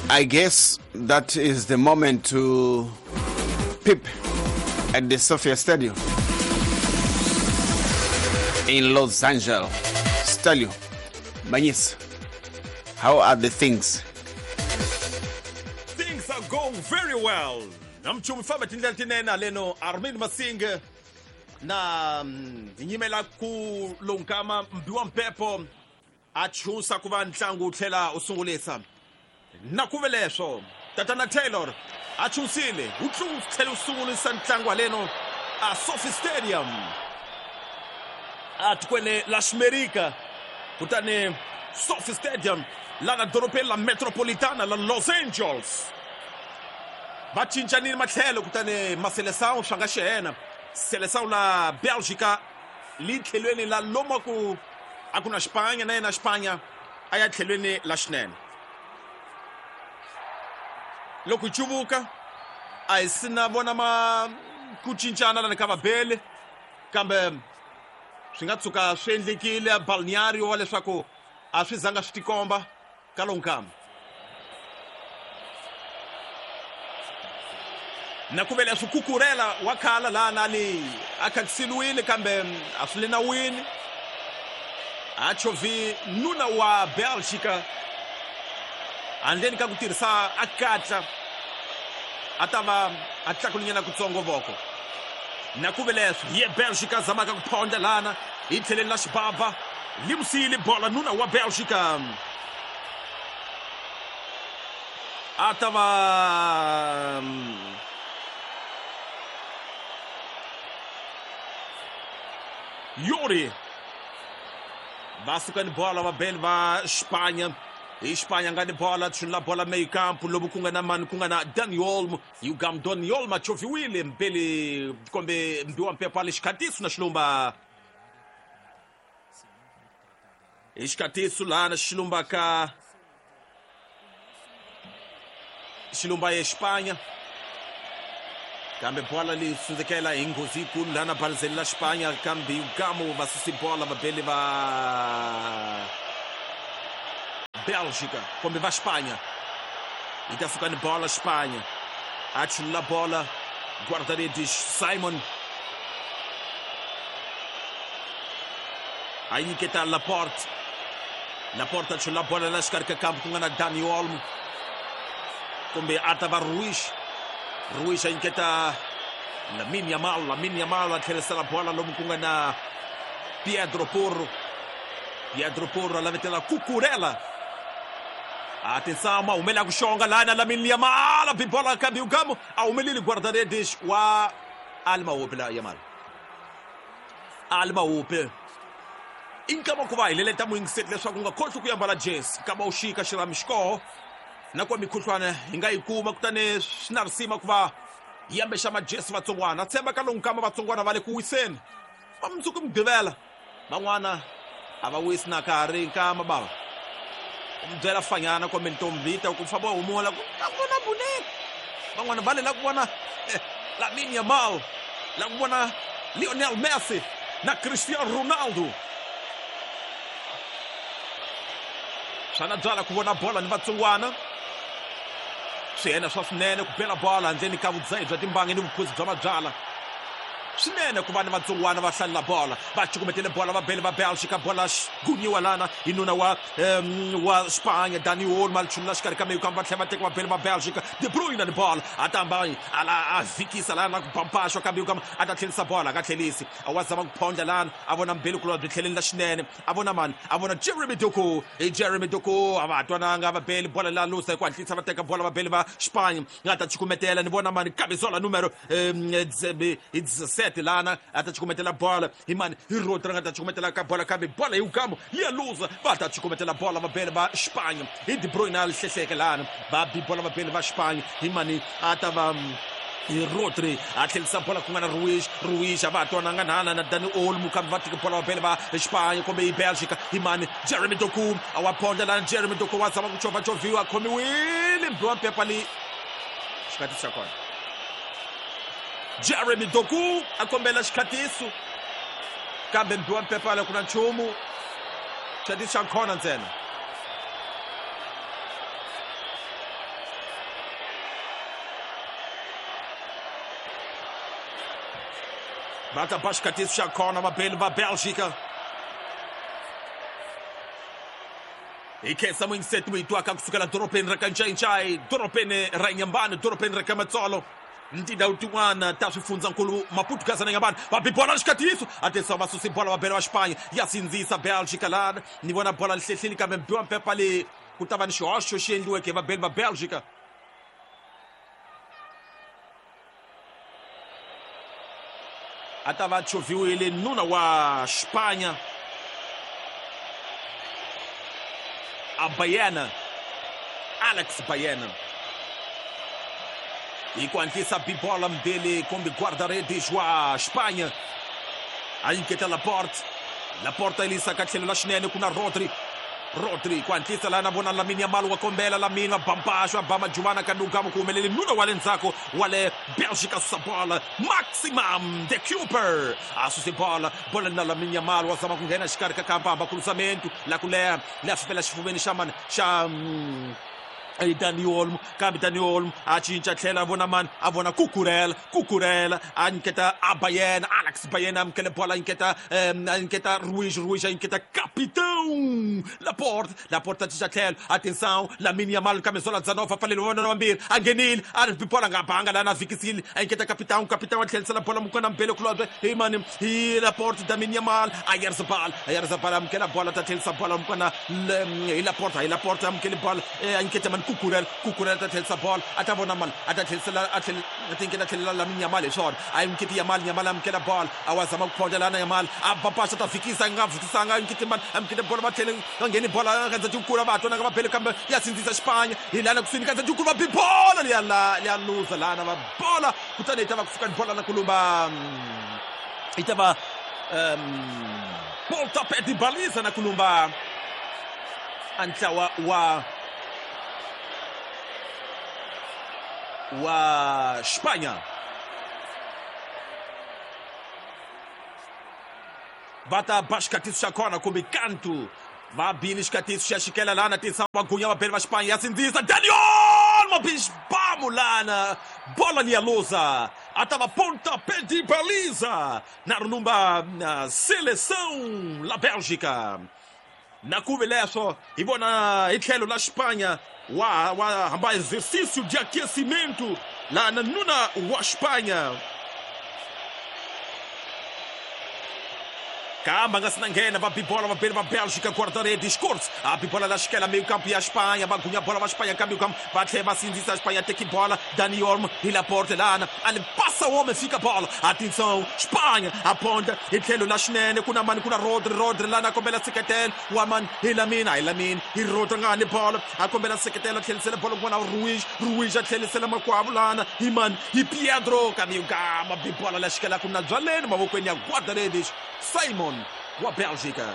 I guess that is the moment to peep at the Sophia Stadium in Los Angeles. Stelio, Manyisa, how are the things? Things are going very well. Namchumu famba tindlela tinene haleno Armin Masinge na hi nyimela ku lonkama mbiwa mpepo a chusa ku va ntlangu wu tlhela wu sungulisa na ku ve leswo tatana Taylor a chusile wu tlhela wu sungulisa ntlangu haleno a Sophie Stadium a tikweni la Ximerika kutani Sophie Stadium la na dorobeni la Metropolitana la Los Angeles va cincanile matlhelo kutani Maselesao swa nga xihena Selesao la Belgica li tlhelweni la lomu ku a ku na Xipanya na yena Xipanya a ya tlhelweni la xinene loko hi cuvuka a hi sina vona ma ku cincana lani ka vabeli kambe swi nga tshuka swi endlekile balneario wa leswaku a swi zanga swi tikomba ka lowu nkama na ku vele swi kukurela wa khala laha na li a khakisiliwile kambe a swi le nawini a chovhi nuna wa Belgica handleni ka ku tirhisa a katla a ta va a tlakulinyana kutsongo voko na ku ve leswi hi ye Belgica zamaka ku phondla lana hi tlheleni la xibaba limusile bola nuna wa Belgica a ta va Yuri va suka ni bola vabeli va Xipanya hi Xipanya nga ni bola chunula bola meyi kampu lomu ku nga na mani ku nga na Dani Olmo Yugam Dani Olmo a chovhiwile mbeli kombe mbiwa mpepo ale xikhatiso na xilumba hi xikhatiso lana xilumba ka xilumba ye Xipanya kambe bola li sundzekela hi nghozi yikulu lana balizeli la Xipanya kambe Yugamo va susi bola vabeli va Belgica kumbe va Xipanya yi ta suka ni bola Xipanya a chulula bola guarda-redes Simon a nyiketa Laporte Laporte a chulula bola la xikarhi ka kambu ku nga na Dani Olmo kumbe a ta va Ruiz Ruiz a nyiketa Lamine Yamal Lamine Yamal a tlherisela bola lomu ku nga na Pedro Porro Pedro Porro a lavetela Cucurella a tinsama humela ku xonga lana Lamine Yamal a bi bola kambe Ugamo a humeleli guarda-redes wa Alma la Yamal Alma Hope i nkama ku va hi leleta muyingiseti leswaku u nga khohlwi ku yambala jesi nkama wu xika xirhami xikoho na ku va mikhuhlwana hi nga yi kuma kutani swi na risima ku va hi yambexa majesi vatsongwana tshemba ka lowu nkama vatsongwana va le ku wiseni va mundzuku mugqivela van'wana a va wisi na ka ha ri nkama bava u mi byela fanyana kumbe ntombi yi ta ku famba humula ku ta ku vona buneke van'wana va lela ku vona Lamine Yamal la ku vona Lionel Messi na Cristiano Ronaldo swa byala ku vona bola ni vatsongwana swihena swa swinene ku bela bola handleni ka vudzahi bya timbangi ni vuphuzi bya mabyala swinene ku va ni vatsongwana va hlalela bola va cukumetele bola va bele va Belgica bola gunyiwa lana hi nuna wa wa Spanya Dani Olmo a chulula xikarhi ka meyu kambe va tlhela va teka va bele va Belgica De Bruyne ni bola a tamba ala a vhikisa lana ku bampaxwa kambe kama a ta tlhelisa bola a nga tlhelisi a wa zama ku phondla lana a vona mbeli kulwa byi tlheleni la xinene a vona mani a vona Jeremy Doku hi Jeremy Doku a va ha twananga va bele bola la lusa hi ku hatlisa va teka bola va bele va Spanya nga ta cukumetela ni vona mani Cazorla numero hi 17 lana a ta cukumetela bola hi mani hi Rodri nga ta cukumetela ka bola kambe bola hi Ugamo ya luza va ta cukumetela bola va bele va Spanya hi De Bruyne a hlehleke lana va bi bola va bele va Spanya hi mani a ta va hi Rodri a tlhelisa bola ku nga na Ruiz Ruiz a va ha twananga nana na Dani Olmo kambe va teke bola va bele va Spanya kumbe hi Belgica hi mani Jeremy Doku a wa phondla lana Jeremy Doku wa zama ku chovhachoviwa a khomiwile mbiwa mpepa li xikhatiso xa kona Jeremy Doku a kombela xikhatiso kambe mbiwa mpepa la ku na nchumu xikhatiso xa khona ntsena. Va ta ba xikatiso xa kona vabeli va Bélgica. Hi khensa muyingiseti mi yi twaka kusukela dorobeni ra ka Ncayincayi, dorobeni ra Inhambane, dorobeni ra ka Matsolo, ni tindhawu tin'wana ta swifundzankulu Maputo, Gaza na Inhambane. Va bi bola xikatiso, atenção, va susi bola vabeli va Xipanya, ya sindzisa Bélgica lana. Ni vona bola li hlehlile kambe mbiwa mpepa leyi ku ta va ni xihoxo xi endliweke hi vabeli va Bélgica. A ta va chovhiwile nuna wa Xipanya a Baena, Alex Baena. Hi ku hatlisa bi bola mbili kumbe guarda-redes wa Xipanya a nyiketa Laporte. Laporte a yisa ka tlhelo la xinene ku na Rodri. Rodri ku hatlisa lana vona Lamine Yamal wa kombela, Lamine wa bampaxo, a ba majuvana ka Nugamo ku humelele nuna wa le ndzhaku wa le Bélgica susa bola. Maximum de Cooper a suse bola, bola na Lamine Yamal wa zama ku nghena xikarhi ka kampa, hamba cruzamento la ku leha la fifela xifuveni xa mani xa Dani Olmo, kambe Dani Olmo a cinca tlhela a vona mani, a vona Cucurella, Cucurella a nyiketa a Baena, Alex Baena amukele bola, a nyiketa a nyiketa Ruiz, Ruiz a nyiketa Capitão Laporte, Laporte a cinca tlhelo, atenção, Lamine Yamal camisola 19 a pfaleliwa vona vambirhi, a nghenile, a ri bola nga banga lana vikisile, a nyiketa Capitão, Capitão a tlhelisela bola mukwana mbele kulobye hi mani hi Laporte, Lamine Yamal a Yarzabal, a Yarzabal amukela bola, ta tlhelisa bola mukwana hi Laporte, hi Laporte amukele bola, a nyiketa mani Cucurella, Cucurella ta tlhelisa bola, a ta vona mani, a ta tlhelisela, a tlhela a tinkela tlhelela Lamine Yamal hi swona, a yi nyiketi Yamal, Yamal amukela bola, a wa zama ku phonda lana Yamal, a bapasa ta fikisa, nga fikisanga, a nyiketi mani, amukele bola, va tlhele va ngheni bola, ka ndzhaku kula va twa nga va bele kambe ya sindzisa Xipanya, hi lana kusuhi ka ndzhaku va bi bola liya la liya luza lana va bola, kutani yi ta va kusuka ni bola na kulumba, yi ta va pontapé de baliza na kulumba a ntlawa wa Xipanya. Va ta ba xikatiso xa kona kumbe kantu, va bile xikatiso xa xikela lana, tisa magunya vabeli va Xipanya, ya sindzisa Dani Olmo, bixibamu lana, bola liya luza, a ta va pontapé de baliza na rilumba na seleção la Bélgica. Na kuve leswo hi vona hi tlhelo la Xipanya wa hamba exercício de aquecimento lá na nuna wa Xipanya. Kamba nga sina nghena va bibola vabeli va Bélgica, guarda-redes Kurtz a bibola la xikela meio campo ya Espanha, va gunya bola va Espanha ka meio campo, va tlhela va sindzisa Espanha, teki bola Dani Olmo hi Laporte lana, ali passa o homem, fica bola, atenção Espanha aponta hi tlhelo la xinene ku na mani, ku na Rodri, Rodri lana a kombela seketelo wa mani hi Lamine, hi Lamine hi Rodri nga ni bola, a kombela seketelo, a tlhelisela bola kun'wana Ruiz, Ruiz a tlhelisela makwavo lana hi mani hi Pedro ka meio campo, bibola la xikela ku na byaleni mavokweni ya guarda-redes Simon wa Bélgica.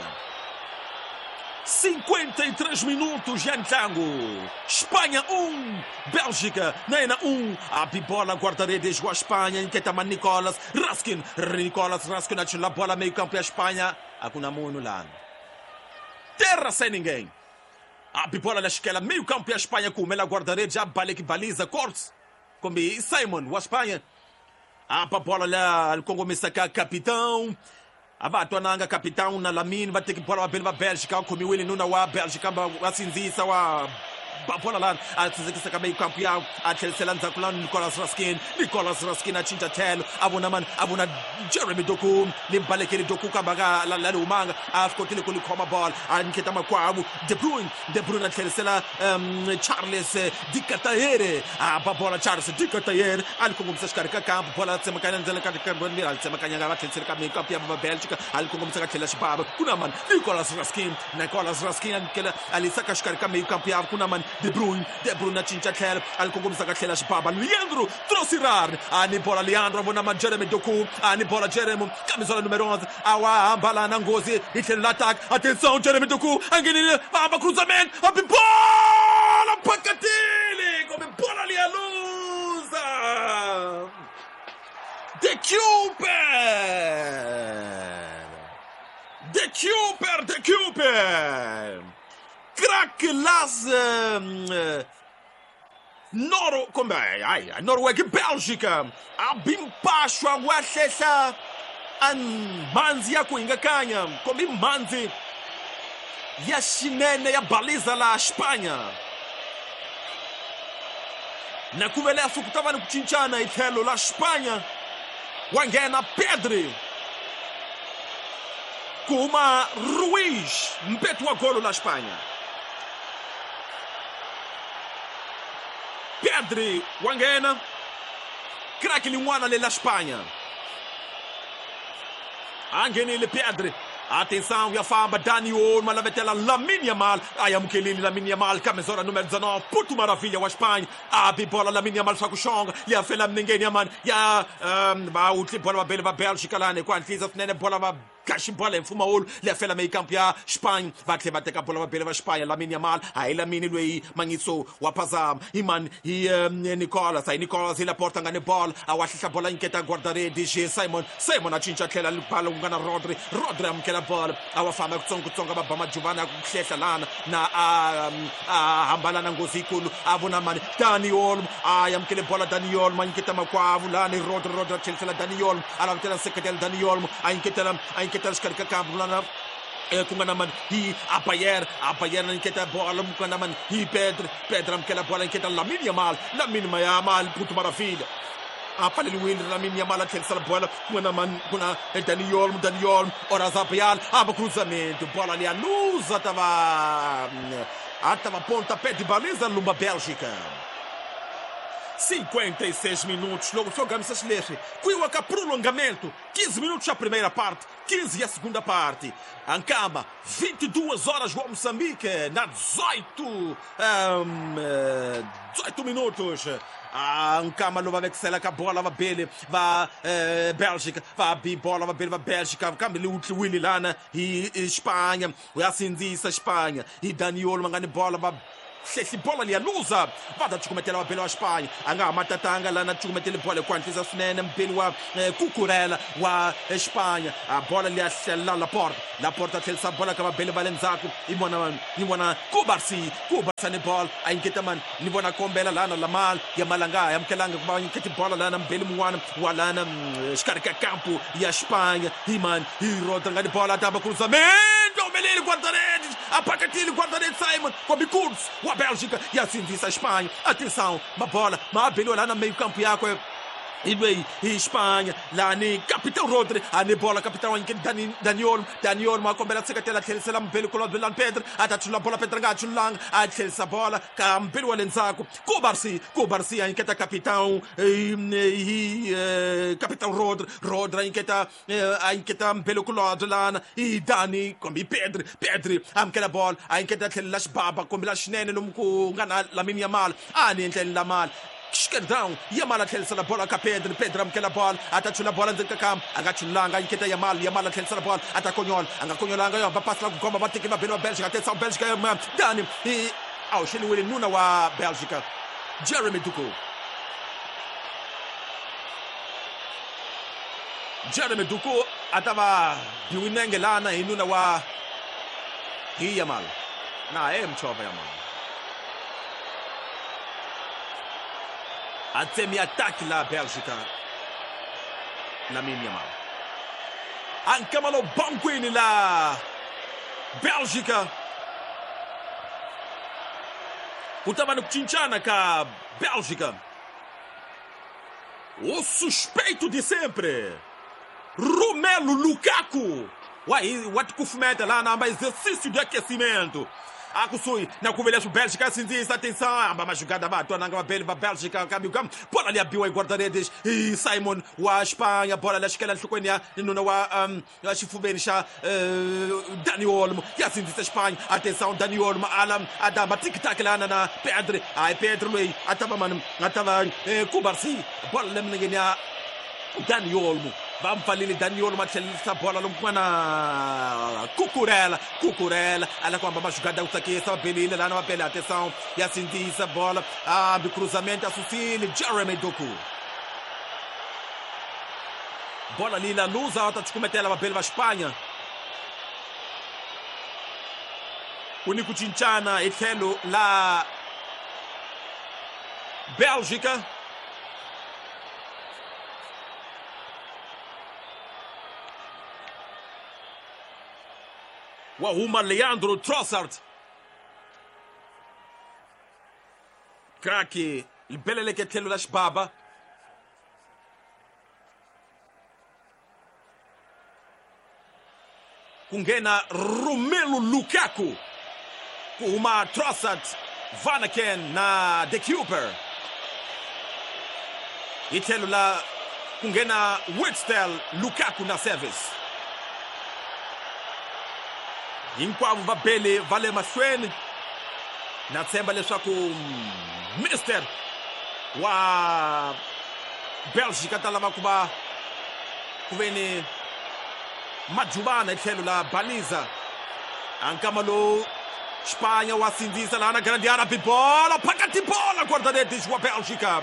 53 minutos ya ntlangu. Espanha 1, Bélgica na yena 1. A bibola guarda-redes wa Espanha nyiketa ma Nicolas Raskin, Nicolas Raskin a chela bola meio campo ya Espanha, a ku na munhu lana, terra sem ninguém. A bibola la xikela meio campo ya Espanha ku humela guarda-redes a baleki baliza Cortes kumbe Simon wa Espanha. A bola la kongomisa ka Capitão, a va twananga Capitão na Lamine, va teki bola vabeli va Bélgica, va khomiwile nuna wa Bélgica, va sindzisa wa ba bola lana, a tsindzekisa ka meio campo ya, a tlhelisela ndzhaku lana Nicolas Raskin, Nicolas Raskin a cinca tlhelo, a vona mani, a vona Jeremy Doku, ni balekeli Doku kambe a nga la humanga, a swi kotile ku li khoma bola, a nyiketa makwavo De Bruyne, De Bruyne a tlhelisela Charles Di Cataere, a ba bola Charles Di Cataere, a li kongomisa xikarhi ka kampo, bola tsemakanya ndzela ka a li tsemakanya va tlhelisela ka meio campo ya va Bélgica, a li kongomisa ka tlhela xibava, ku na mani Nicolas Raskin, Nicolas Raskin a nyikela a li saka xikarhi ka meio campo ya ku na mani De Bruyne, De Bruyne a cinca tlhelo, a li kongomisa ka tlhela xibaba, Leandro Trossard, a ni bola Leandro a vona ma Jeremy Doku, a ni bola Jeremy, camisola número 11, a wa hamba na nghozi hi tlhelo la attack, atenção Jeremy Doku, a nghenile, va hamba cruzamento, a bi bola pakatile, come bola li a luza. De Cooper, De Cooper, De Cooper. Crack las Noro kumbe hayi Noruega Bélgica a bimpaxwa wa hlehla A mhandzi ya ku hingakanya kumbe mhandzi ya xinene ya baliza la Espanha. Na ku vele ku ta va ni ku cincana hi tlhelo la Espanha. Wa nghena Pedri, ku huma Ruiz, mpetu wa golo la Espanha. Pedri wa nghena, craque lin'wana le la Espanha. A nghenile Pedri. Atenção, ya famba Dani Olmo, alavetela Lamine Yamal. Ayamukelile Lamine Yamal, camisola número 19, puto maravilha wa Espanha. Abre bola Lamine Yamal swa ku xonga, ya fela minengeni ya mani ya va utli bola va bele va Bélgica lani ku hatlisa swinene bola va gaxi bola hi mpfumawulo leya fela meyi kampu ya Spain. Va tlhela va teka bola va bele va Spain. Lamine Yamal, hayi Lamine loyi mangiso wa phazama hi mani hi Nicolas, hayi Nicolas hi Laporta nga ni bola a wa hlihla bola nyiketa guarda-redes Simon. Simon a cinca tlhela bala ku nga na Rodri. Rodri amukela bola a wa famba kutsongokutsongo va ba majuvana ya ku hlehla lana na a hambana na nghozi yikulu a vona mani Dani Olmo a amukele bola Dani Olmo a nyiketa makwavo lani Rodri. Rodri a tlhelisela Dani Olmo a lavetela nseketelo Dani Olmo a nyiketela xikarhi ka kampu lana ku nga na mani hi Abayer. Abayer a nyiketa bola ku nga na mani hi Pedri. Pedri amukela bola nyiketa Lamine Yamal. Lamine Yamal puto maravilha a pfaleliwile Lamine Yamal a tlhelisela bola ku nga na mani ku na Dani Olmo. Dani Olmo ora Zabial aba cruzamento bola ali a luza tava a tava pontapé de baliza lumba Bélgica. 56 minutos, logo jogamos essas leswi kuiwa ka prolongamento, 15 minutos a primeira parte, 15 a segunda parte. Ancama, 22 horas o Moçambique, na 18 minutos. Ancama lo va vekisela ka bola va bele va Bélgica, va bi bola va bele va Bélgica, kambe li utliwile lana hi Espanha, uyasindzisa Espanha, hi Dani Olmo nga ni bola va hlehli bola liya luza va ta cukumetela vabeli wa Espanha. A nga ha matatanga lana cukumetele bola hi ku hatlisa swinene mubeli wa Cucurella wa Espanha. A bola liya hlelela Laporta. Laporta tlhelisa bola ka vabeli va le ndzhaku i vona Cubarsí. Cubarsí ni bola a nyiketa mani ni vona kombela lana Lamal. Yamal a nga ha amukelanga ku va nyiketi bola lana mubeli mun'wana wa lana xikarhi ka kampu ya Espanha hi mani hi Rodri nga ni bola ta va cruzamento humeleli guarda-redes apakatile guarda-redes Simon kombi Kurz wa Bélgica ya sindzisa Espanha. Atenção, uma bola mabeliwa lá no meio campo yakwe ilweyi hi Espanha lani capitão Rodri ani bola capitão anyike Dani Olmo. Dani Olmo a kombela seketela tlhelisela mubeli kulobye lani Pedri a ta chula bola Pedri nga chulanga a tlhelisa bola ka mubeli wa le ndzhaku Cubarsí. Cubarsí a nyiketa capitão hi capitão Rodri. Rodri a nyiketa mubeli kulobye lana hi Dani kumbe Pedri. Pedri amukela bola a nyiketa tlhelela xibaba kumbe la xinene lomu ku nga na Lamine Yamal a ni endleni Lamal Esquerdão, Yamal a tlhelisela bola ka Pedri. Pedri amukela bola a ta chula bola ndzeni ka kampu a nga chulanga a nyiketa Yamal. Yamal a tlhelisela bola a ta konyola a nga konyolanga yo va pasi la ku komba va teki vabeli va Bélgica. Atenção Bélgica Dani a hoxeliwile nuna wa Bélgica Jeremy Doku. Jeremy Doku a ta va biwinenge lana hi nuna wa hi Yamal na e mchova Yamal a tsemi ataque la Bélgica Lamine Yamal. Ancamalo banquini la Bélgica ku ta va ni ku cincana ka Bélgica. O suspeito de sempre Romelu Lukaku wa tikufumeta lana amba exercício de aquecimento a kusuhi na ku veleswo Bélgica sindzisa. Atenção, amba majugada va twananga vabeli va Bélgica kambe bola liya biwa hi guarda-redes hi Simon wa Espanha. Bola liya xikela nhlokweni ya nuna wa xifuveni xa Dani Olmo ya sindzisa Espanha. Atenção, Dani Olmo ala adamba tik-tak lana na Pedri. Hayi Pedri loyi a ta va mani a ta va Cubarsí. Bola le milengeni ya Dani Olmo va mpfalile Dani Olmo a tlhelisa bola lomu ku nga na Cucurella. Cucurella a la ku hamba majugada ku tsakisa va belile lana va bele. Atenção, ya sindzisa bola hambi cruzamento a susile Jeremy Doku. Bola lila luza va ta cukumetela vabeli va Espanha. Ku ni ku cincana hi tlhelo la Bélgica. Wa huma Leandro Trossard. Craque libeleleke tlhelo la xibaba. Ku nghena Romelu Lukaku. Ku huma Trossard, Vanaken na De Cuyper. Hi tlhelo la ku nghena Witsel, Lukaku na Service. Hinkwavo va bele va le mahlweni. Na tshemba leswaku Minister wa Belgica ta lava ku va ku ve ni majuvana hi tlhelo la Baliza. A nkama lowu Espanha wa sindzisa laha na grande área bola phakati bola guarda-redes wa Bélgica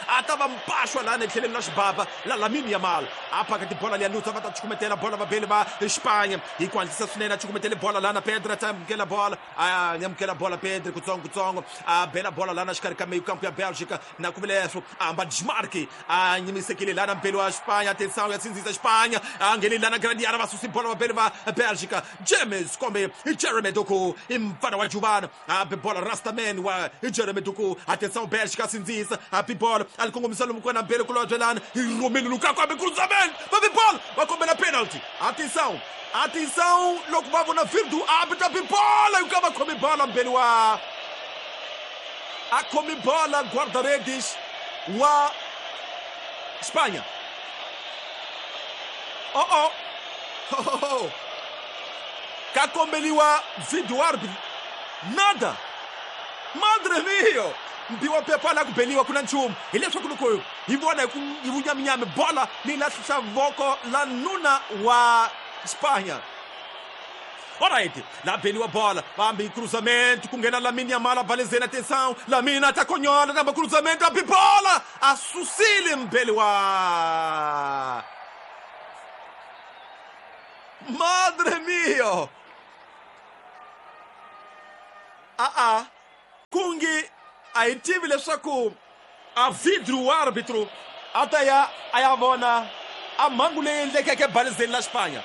a ta va mpaxwa laha ni tlheleni la xibaba la Lamine Yamal a phakati bola liya Lutza va ta chukumetela bola vabeli va Espanha hi ku hatlisa swinene a chukumetele bola laha na Pedro a ta amukela bola a amukela bola Pedro kutsongo kutsongo a bela bola laha na xikarhi ka meyo kampo ya Bélgica na ku vileswo a hamba Djmarki a nyimisekile laha na mbeli wa Espanha atenção ya sindzisa Espanha a nghenile laha na grande área va susi bola vabeli va Bélgica James kombe Jeremy Doku i mfana wa Juvana a be bola Rastaman wa Jeremy Doku atenção Bélgica sindzisa a bi bola a li kongomisa lomu kona mbeli kulobye lana Romelu Lukaku a be cruzamento va bi bola va kombela penalty atenção atenção loko va vona Virdu a bi ta bi bola yi ka va khomi bola mbeli wa a khomi bola guarda-redes wa Espanha. Oh oh. Oh, oh. Ka kombeliwa video árbitro. Nada. Madre mio. Mbiwa pepa la ku beliwa kuna nchumu. Hileswaku loko hi vona hi ku hi vunyaminyami bola leyi lahlisa voko la nuna wa Espanha. Alright, la beliwa bola, bambi cruzamento, ku nghena Lamine Yamal balezeni atenção, Lamine ta konyola namba cruzamento, a bola, a susile mbeliwa. Madre mio. A kungi a hi tivi leswaku a vidru árbitro a ta ya a ya vona a mhangu leyi endlekeke balezeni la Espanha.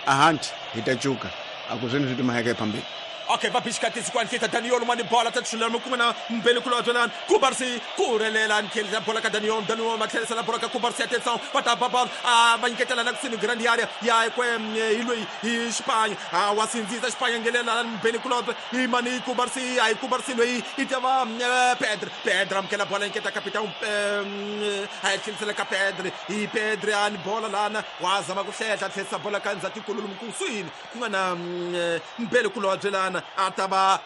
Ahanti hi ta cuka a ku swini swi timaheke phambili. Okay, va bixikatisi ku anhlita Daniel mani bola ta tshulela mukume na mbele kulobye lani Kubarsi ku rhelela ntlhelisa bola ka Daniel Daniel ma tlherisela bola ka Kubarsi atenção va ta ba bola a va nyiketela na kusini grande área ya kwe hi loyi hi Espanha a wa sindzisa Espanha nghelela mbele kulobye hi mani Kubarsi a hi Kubarsi loyi i ta va Pedro Pedro amukela bola nyiketa capitão a yi tlherisela ka Pedro hi Pedro a ni bola lana wa zama ku hlehla tlherisa bola ka ndzhaku kululu mkuswini ku nga na mbele kulobye lana a ta va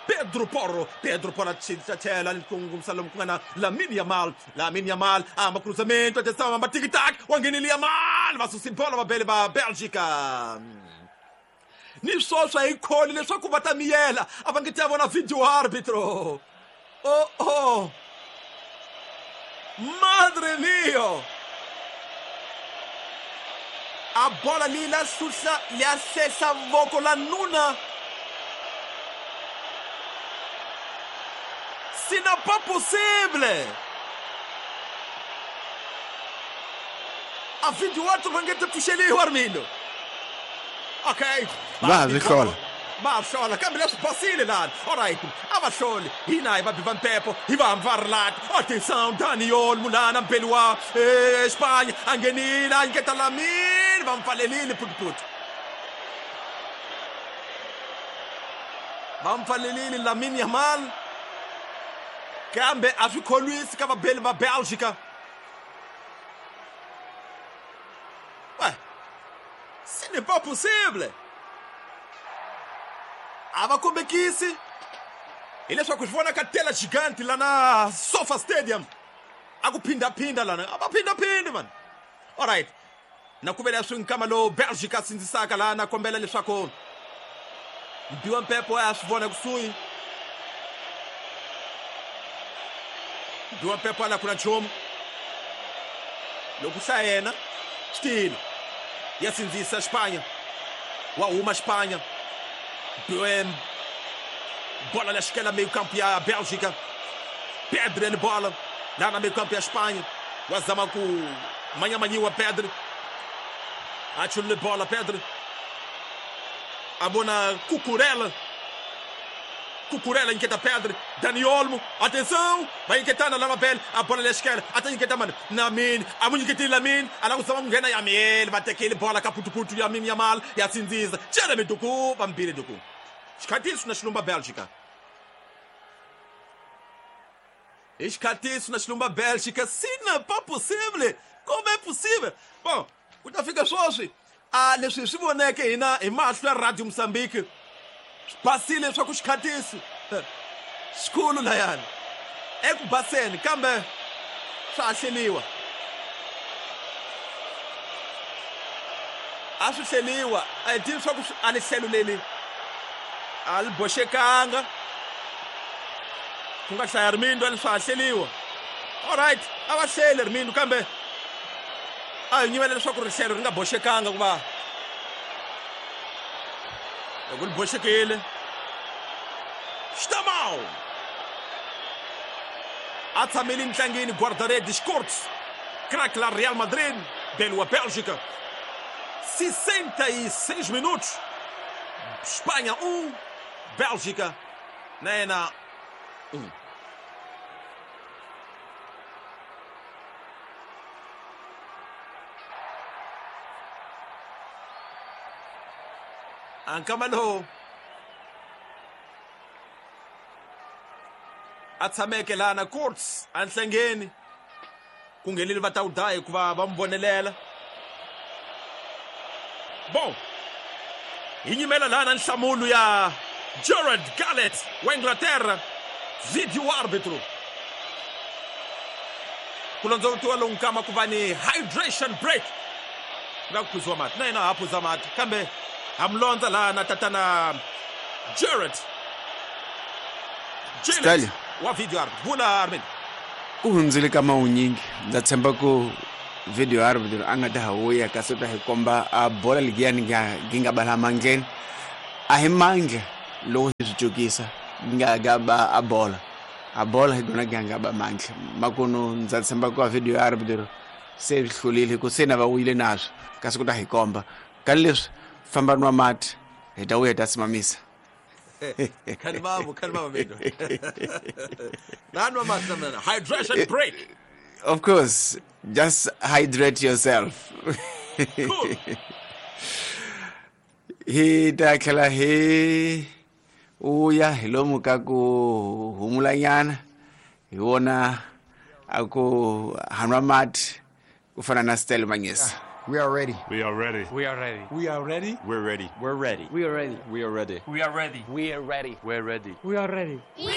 Pedro Porro Pedro Porro a tlhela ni kongomisa lomu ku nga na Lamine Yamal Lamine Yamal a hamba cruzamento atenção hamba tic-tac wa nghenile Yamal va susi bola vabeli va Bélgica ni swoswa hi kholi leswaku va ta miyela a va nge ti ya vona video árbitro. Oh oh. Madre mio. A bola leyi la hluhla ya hlehla voko la nuna. Ce n'est pas possible. A video árbitro va nge ti pfuxeliwa Armindo. Okay. Va ha swi hlola. Va hlola kambe leswi basile lani. Alright, a va hloli. Hina hi va biva mpepo, hi va hamba rilati. Atenção, Daniel Mulana mbeli wa Espanha a nghenile a nyiketa Lamine va mpfalelile phutiphut. Va mpfalelile Lamine Yamal. Kambe a swi kholwisi ka vabeli va Bélgica. Ouais. Ce n'est pas possible. A va kombekisi hileswaku swi vona ka tela gigante lana Sofa Stadium a ku phindaphinda lana a va phindhaphindi man. Alright, na ku vela swi nkama lowu Bélgica sindzisaka lana kombela leswaku mbiwa mpepo a swi vona kusuhi mbiwa mpepo a la ku na nchumu loko hlaya yena swi tile ya sindzisa Espanha wa huma Espanha bola la xikela meio campo ya Bélgica Pedro ni bola lá na meio campo ya Espanha wa zama ku manyamanyiwa Pedro A chulule bola Pedri. A vona Cucurella. Cucurella inquieta Pedri. Dani Olmo. Atenção. Vai inquietando lá na pele. A bola na esquerda. Até inquieta, mano. Lamine. A muito inquieta Lamine. A lá o ngena Yamiel. Vai ter aquele bola caputuputu Yamin Yamal. E assim diz. Jeremy Doku. Vampire Doku. Xikatiso na xilumba Bélgica. Xikatiso na xilumba Bélgica. Sina, pas possível. Como é possível? Bom, ku ta fika sweswi a leswi hi swi voneke hina hi mahlo ya Radio Mozambique swi basile leswaku xikhatiso xikulu layani eku baseni kambe swa ha hleliwa a swi hleliwa a hi tivi swa ku a li hlelo leli a li boxekanga ku nga hlaya rimindo a li swa ha hleliwa. Alright, a va hlele rimindo kambe a hi nyimela leswaku rihlelo ri nga boxekanga ku va loko li boxekile Xtamau a tshamile ntlangeni guarda-redes Kurtz craque la Real Madrid belo a Bélgica 66 minutos Espanha 1 Bélgica na yena 1. Ankama lowu a tshameke laha na Kurtz a nhlengeni ku nghenile va ta wu daya hikuva va n'wi vonelela. Bom, hi nyimela laha na nhlamulo ya Gerard Gallet wa Inglaterra, video árbitro. Ku londzovutiwa lowu nkama ku va ni hydration break nga ku phuziwa mati na yena ha phuza mati kambe ha mi londza laha na tatana Gerard Gillett wa video arbitro. Vula Armin. Ku hundzile ka mawunyingi ndza tshemba ku video arbitro a nga ta ha vuya kasi u ta hi komba a bola ligiyani gi nga bala mandleni a hi mandla loko hi swi cukisa gi nga ga ba a bola hi gona gi nga ba mandla makunu ndza tshemba ku a video arbitro se swi hlulile ku se na va wuyile naswo kasi ku ta hi komba ka leswi famba nwa mati hi ta vuya hi ta simamisa. Kalmamo Mindo. Nanwa mati namna. Hydration break. Of course, just hydrate yourself. Cool. Hi ta tlhela hi uya hi lomu ka ku humulanyana hi vona a ku hanwa mati ku fana na Stella Manyisa. We are ready. We are ready. We are ready. We are ready. We're ready. We're ready. We are ready. We are ready. We are ready. We are ready. We are ready. We are ready. We